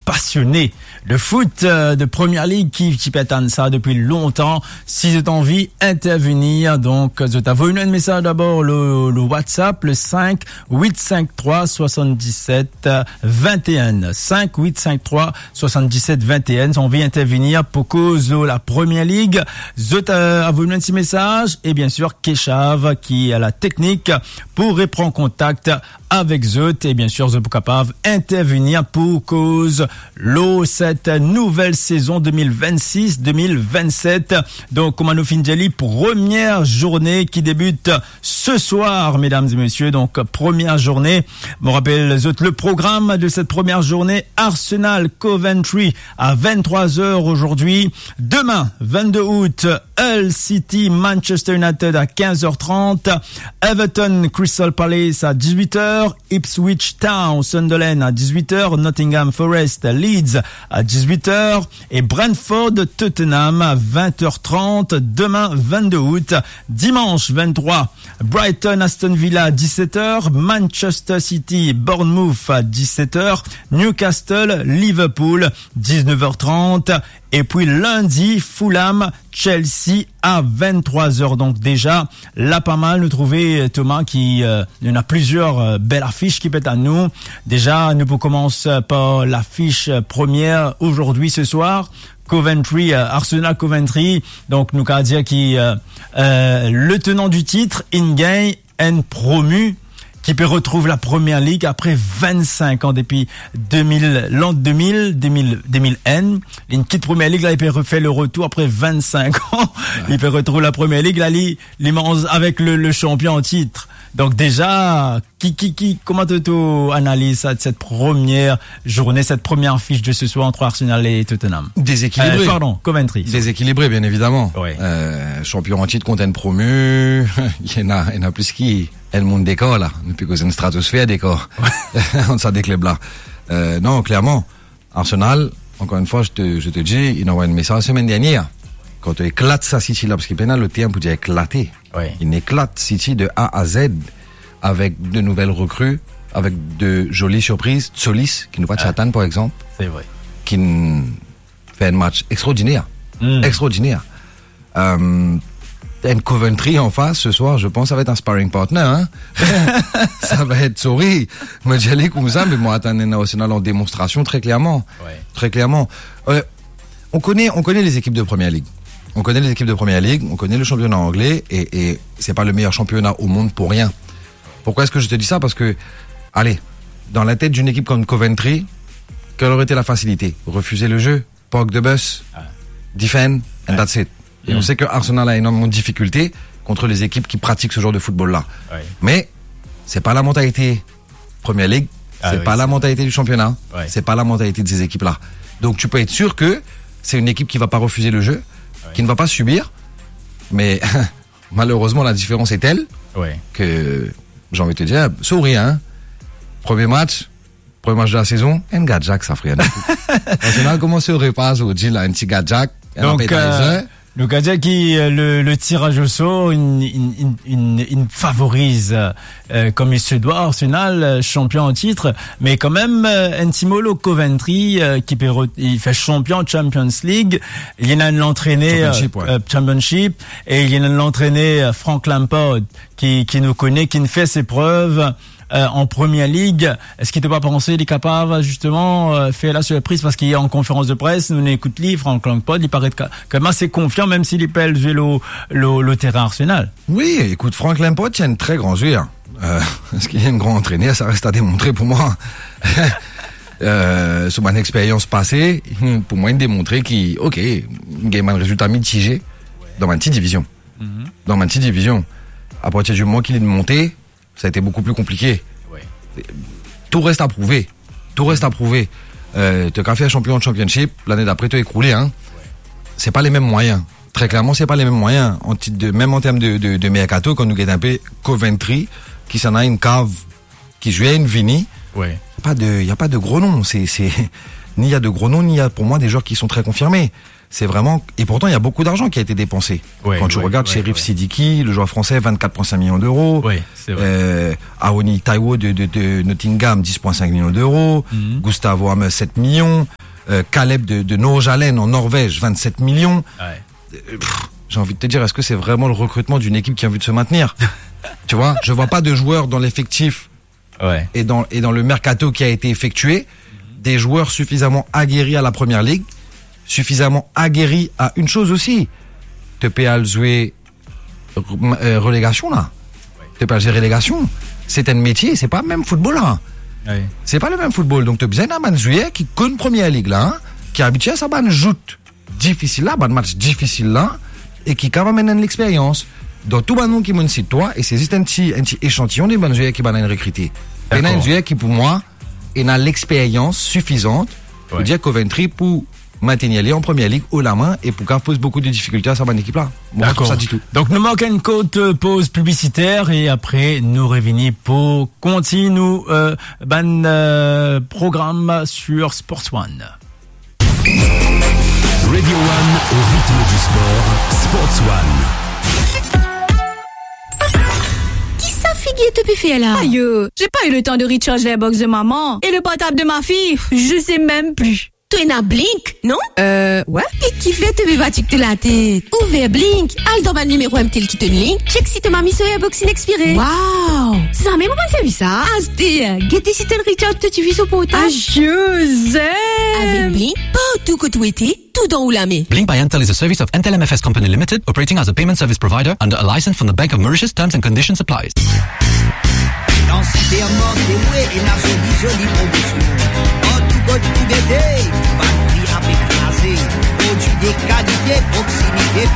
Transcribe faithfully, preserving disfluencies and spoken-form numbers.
pasione de foot, euh, de Première Ligue ki, ki pe atann sa depi lontan. Si zot anvi intervenir, donk, zot avoy nou enn mesaz dabor le, le WhatsApp, le cinq huit cinq trois soixante-dix-sept vingt et un. Cinq huit cinq trois soixante-dix-sept vingt et un. Si zot anvi intervenir pou koz la Première Ligue, zot, euh, avoy nou enn ti mesaz, e bien sûr, Keshav ki a la teknik pou repran kontak avek zot, e bien sûr, zot pou kapav intervenir pou koz lor cette nouvelle saison deux mille vingt-six deux mille vingt-sept. Donk, kouma nou finn dir li, première journée qui débute ce soir, mesdames et messieurs. Donc, première journée. Mo rapel zot le programme de cette première journée. Arsenal Coventry à vingt-trois heures aujourd'hui. Demain, vingt-deux août, Hull City Manchester United à quinze heures trente. Everton Crystal Palace à dix-huit heures. Ipswich Town Sunderland à dix-huit heures. Nottingham Forest Leeds à dix-huit heures. Et Brentford Tottenham à vingt heures trente. Demain, vingt-deux août. Dimanche vingt-trois, Brighton Aston Villa à dix-sept heures, Manchester City Bournemouth à dix-sept heures, Newcastle Liverpool dix-neuf heures trente, et puis lundi Fulham Chelsea à vingt-trois heures. Donc déjà, la pa mal, nou trouve, euh, Thomas, ki, euh, ena plizier, euh, bel afis ki pe atann nou. Déjà, nou pou koumans par lafis, euh, première aujourd'hui ce soir. Coventry, euh, Arsenal Coventry. Donk, nou kav dir ki, euh, euh, le tenant du titre, inn gagn enn promu ki pe retrouv la Première Ligue apre vinn-sink an, depi de mil, lan de mil, de mil, de mil enn. Linn kit Première Ligue la, li pe refer le retour apre vinn-sink an. Li pe retrouv la Première Ligue la, li, li manz avek le, le champion en titre. Donk déjà, ki, ki, ki, kouma to, to analiz sa, cette première journée, cette première affiche de ce soir entre Arsenal et Tottenham? Déséquilibré. Euh, pardon, Coventry. Déséquilibré, bien évidemment. Oui. Euh, champion en titre kont enn promu, ena, ena plis ki enn moun dekor la. Nou pe koz enn stratosfer dekor ant sa de klub la. Euh, non, clairement, Arsenal, encore une fois, je te, je te dis, inn anvway enn mesaz semaine dernière. Kan to eklat sa City la, parski pena lot term pou dir eklate. Oui. Inn eklat City de A à Z avec de nouvelles recrues, avec de jolies surprises. Tzolis, ki nou pa ti atann, par exemple, c'est vrai, ki'nn fer enn match extraordinaire. Hmm. Extraordinaire. Euh, enn Coventry en face ce soir, je pense, ça va être un sparring partner, hein. Ça va être, sorry. Mo dir li koumsa, me mo atann enn Arsenal en démonstration, très clairement. Ouais. Très clairement. Euh, on connaît, on connaît les équipes de Première Ligue. On connaît les équipes de Première Ligue, on connaît le championnat anglais et, et c'est pas le meilleur championnat au monde pour rien. Pourquoi est-ce que je te dis ça ? Parce que, allez, dans la tête d'une équipe comme Coventry, quelle aurait été la facilité ? Refuser le jeu, park the bus, defend, and that's it. Et on sait que Arsenal a énormément de difficultés contre les équipes qui pratiquent ce genre de football-là. Ouais. Mais c'est pas la mentalité Première Ligue, c'est pas la mentalité du championnat, c'est pas la mentalité de ces équipes-là. Donc tu peux être sûr que c'est une équipe qui va pas refuser le jeu, qui ne va pas subir. Mais malheureusement, la différence est telle que, j'ai envie de te dire, souris, hein. Premier match, premier match de la saison, enn gadyak sa, frer. Arsenal koumans so repa zordi la, enn ti gadyak, enn appetizer. Donc, euh, nou kav dir ki, euh, le, le tirage au sort, inn, inn, inn, inn, inn favoriz, euh, comme il se doit, Arsenal, euh, champion en titre, mais quand même, euh, enn ti mo lor Coventry, euh, ki pe re-, li fer champion Champions League, li ena enn lantrener, euh, Championship, e li ena enn lantrener, euh, Frank Lampard, ki, ki nou kone, ki'nn fer ses preuves, euh, en Première Ligue. Eski to pa panse li kapav, justement, euh, fer la surpriz? Parski an konferans de pres, nou ekout li, Frank Lampard, li paret ka-, kanmem ase konfian, mem si li pe al zwe lor, lor, lor terin Arsenal. Oui, écoute, Frank Lampard, c'est un très grand joueur. Euh, est-ce qu'il est un grand entraîneur ? Ça reste à démontrer pour moi. Euh, sou bann expérience pase, pou mwa, inn demontre ki, ok, inn gagn bann rezilta mitize dan bann ti divizion. Dan bann ti divizion. À partir du moment ki li'nn monte, ça a été beaucoup plus compliqué. Ouais. Tout reste à prouver. Tout reste à prouver. Euh, to kav fer champion de Championship, lane dapre to ekoule, hein. C'est pas les mêmes moyens. Très clairement, c'est pas les mêmes moyens. En titre de, même en termes de, de, de mercato, kan nou get inpe Coventry, ki ena enn kav ki zwer inn vini, y a pas de, y a pas de gros noms. C'est, c'est, Ni il y a de gros noms, ni il y a pour moi des joueurs qui sont très confirmés. C'est vraiment, et pourtant, il y a beaucoup d'argent qui a été dépensé. Ouais, ouais, ouais, ouais. Quand tu regardes Cherif Sidiki, le joueur français, vingt-quatre virgule cinq millions d'euros. Oui, c'est vrai. Euh, Aoni Taiwo de, de, de Nottingham, dix virgule cinq millions d'euros. Mhm. Gustavo Hammers, sept millions. Euh, Caleb de, de Nordsjælland en Norvège, vingt-sept millions. Ouais. Euh, pff, j'ai envie de te dire, est-ce que c'est vraiment le recrutement d'une équipe qui a envie de se maintenir ? Tu vois, je vois pas de joueurs dans l'effectif Ouais. et dans, et dans le mercato qui a été effectué, des joueurs suffisamment aguerris à la première ligue, suffisamment aguerris à une chose aussi. To pe al zwe re-, euh, relégation la. To pe al zwe relégation. C'est un métier, c'est pas le même football la. Ouais. C'est pas le même football. Donc, to bizin ena bann zwer ki konn première ligue la, hein, ki abitie a sa bann jout difisil la, bann match difisil la, e ki kapav amenn enn lexperyans. Dan tou bann nom ki mo'nn sit twa, e se zis enn ti, enn ti echantiyon de bann zwer ki bann inn rekrite. Pena Dakor. Enn zwer ki, pou mwa, ena lexperyans sifizan pou Ouais. dir Coventry pou maintenir li an première ligue haut la main e pou kapav poz boukou de difikilte a sa bann ekip la. Mo pa trouv Dakor. Sa ditou. Donk, nou mark enn kourt, euh, poz piblisiter e apre, nou revini pou kontign nou, euh, bann, euh, program sur Sports One. Radio One au rythme du sport, Sports One. Ki sa figir to pe fer la? Ayo, j'ai pas eu le temps de recharge les box de maman et le portable de ma fille, je sais même plus. To ena Blink, non? Euh, ouais. E kifer to pe fatig to latet? Ouver Blink, al dan bann nimero M T L ki to link, check si to mami so Airbox inn expire. Wow! Zame mo pa'nn servi sa. Aster, gete si to inn recharge to tifi so portab. Ayo, zen! Avek Blink, partou kot ou ete, tou dan ou lame. Blink by Entel is a service of Entel M F S Company Limited, operating as a payment service provider under a license from the Bank of Mauritius. Terms and conditions apply. Dan Sipermar, se wi, ena zoli, zoli promosion. Partou kot ou gete, bann pri ape kraze. Prodwi de kalite, proksimite,